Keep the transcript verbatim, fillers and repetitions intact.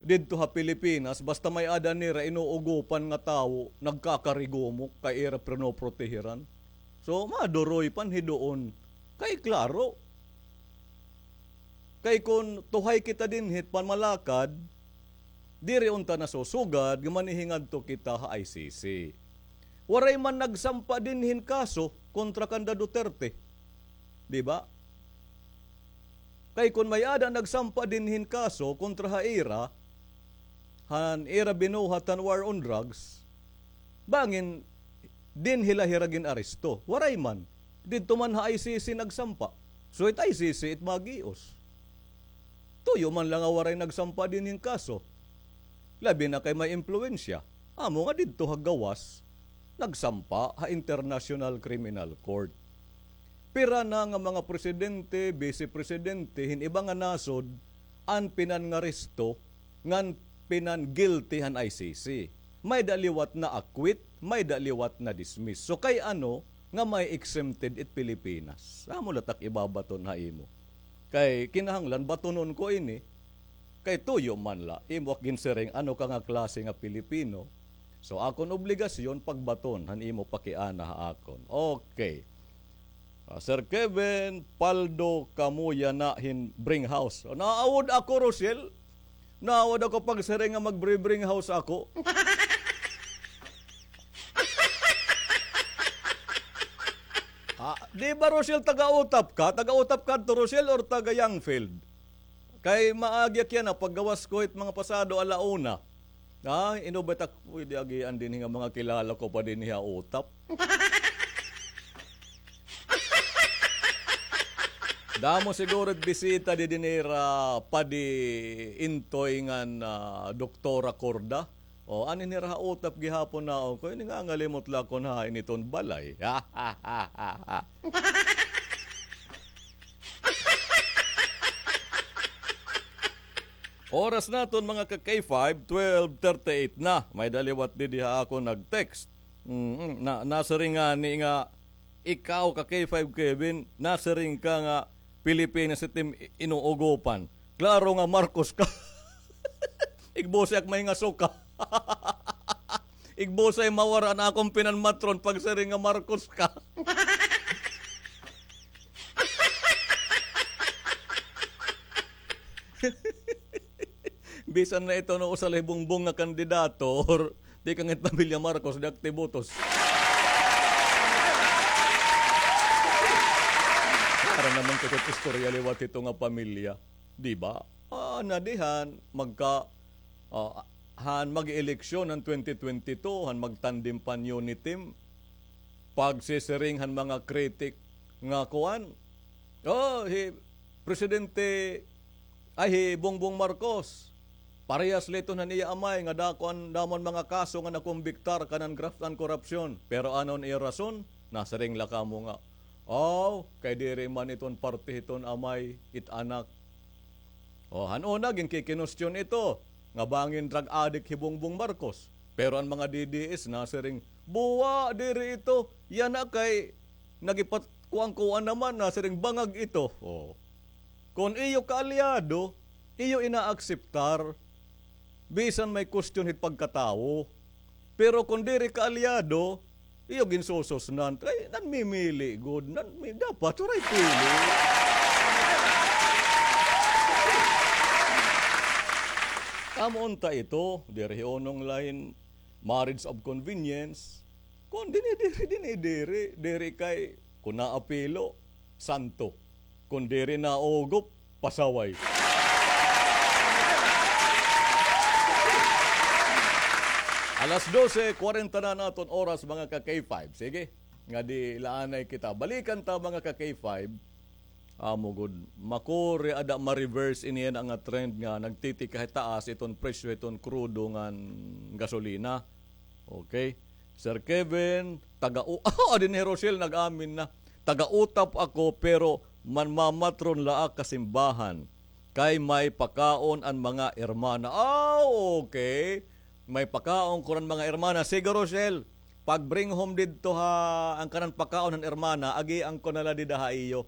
didto ha Pilipinas, basta may-ada nira inuugopan nga tawo, nagkakarigumok kay ira pinoprotehiran. So, maduroy pa an hidoon. Kay klaro, kay kon tuhay kita dinhi hit pamalakad, diri unta nasusugad nga manihingadto kita ha I C C. Waray man nagsampa dinhi hin kaso kontra kanda Duterte. Di ba? Kay kon may-ada nagsampa dinhi hin kaso kontra ha ira, han ira binuhat han war on drugs, bangin dinhi la hira gin-aresto. Waray man. Didto man ha I C C nagsampa. So it I C C it magios. Tuyo man la nga waray nagsampa dinhi hin kaso. Labi na kay may impluwensya. Amo nga didto ha gawas, nagsampa ha International Criminal Court. Pira na nga mga presidente, bise presidente, hin iba nga nasod, an pinangaresto, ngan pinan-guilty han I C C. May-ada liwat na-acquit, may-ada liwat na-dismiss. So kay ano nga may exempted it Pilipinas? Amo la tak ibabaton ha imo. Kay kinahanglan batonon ko ini. Kay tuyo man la, imo ak ginsiring ano ka nga klase nga Pilipino. So akon obligasyon pagbaton han imo pakiana ha akon. Okay. Ah, Sir Kevin, paldo kamo yana hin Bring House. Naawod ako, Rochelle. Naawod ako pagsiring nga mag-bring house ako. Ah, di ba, Rochelle, taga-Utap ka? Taga-Utap ka to, Rochelle, or taga-Youngfield? Kay maagi ak yana, paggawas ko hit mga pasado ala una. Ah, ino ba tak pwede agian dinhi nga mga kilala ko pa dinhi ha Utap? Damo siguro it bisita didi nira Padi Intoy ngan, ah, Doktora Corda. O, ani nira ha Utap gihapon naon ko, ini nga ngalimot la kon hain iton balay. Oras naton, mga ka-K five, twelve thirty-eight na. May-ada liwat didi ha akon nag-text. Mm, na, nasiring ngani nga, ikaw ka-K five Kevin, nasiring ka nga Pilipinas it im inuugopan. Klaro nga Marcos ka. Igbusay ak may nga suka. Igbusay mawara an akon pinanmatron pagsiring nga Marcos ka. Bisan na ito no usa la hi Bongbong nga kandidato, or tikang it pamilya Marcos, di ak tibotos. Para naman ko it istorya liwat hito nga pamilya. Di ba? Ah, nadihan, magka, ah, han mag-eleksyon han twenty twenty-two, han magtandem pa an unity team. Pagsisiring han mga kritik nga kuan. Oh, hi Presidente, ay, hi Bongbong Marcos. Parehas la iton han iya amay nga dako an damo an mga kaso nga nakumbiktar kanan graft and corruption. Pero ano an iya rason? Nasiring la kamo nga, aw, kay diri man iton parte hiton amay, it anak. O, han una, ginkikinustyon ito, nga bangin drug addict hi Bongbong Marcos. Pero an mga D D S nasiring, buwa, diri ito. Yana kay nagipatkuan-kuan naman, nasiring bangag ito. O. Kon iyo kaalyado, iyo inaakseptar, bisan may kustyon hit pagkatawo. Pero kon diri kaalyado, iyo ginsususnan. Kay nanmimili gud, nanmi-, dapat waray pili. Amo unta ito, diri hi unong lain, marriage of convenience. Kon dinhi diri, dinhi diri, diri kay kon naapilo, santo. Kon diri naugop, pasaway. Alas dose kwarenta na an aton oras, mga ka-K five. Sige, nga di laanay kita. Balikan ta, mga ka-K five. Amo gud, makuri ada ma-reverse ini yana nga trend nga nagtitikahitaas iton presyo iton krudo ngan gasolina. Okay. Sir Kevin, taga-U-, ah, dinhi hi Rochelle nag-amin na. Taga-Utap ako, pero manmamatron la ak ha simbahan. Kay may pakaon an mga hermana. Ah, okay. May pakaon kuno an mga hermana. Sige, Rochelle, pag-bring home didto ha, an kanan pakaon han hermana, agian ko na la dida ha iyo.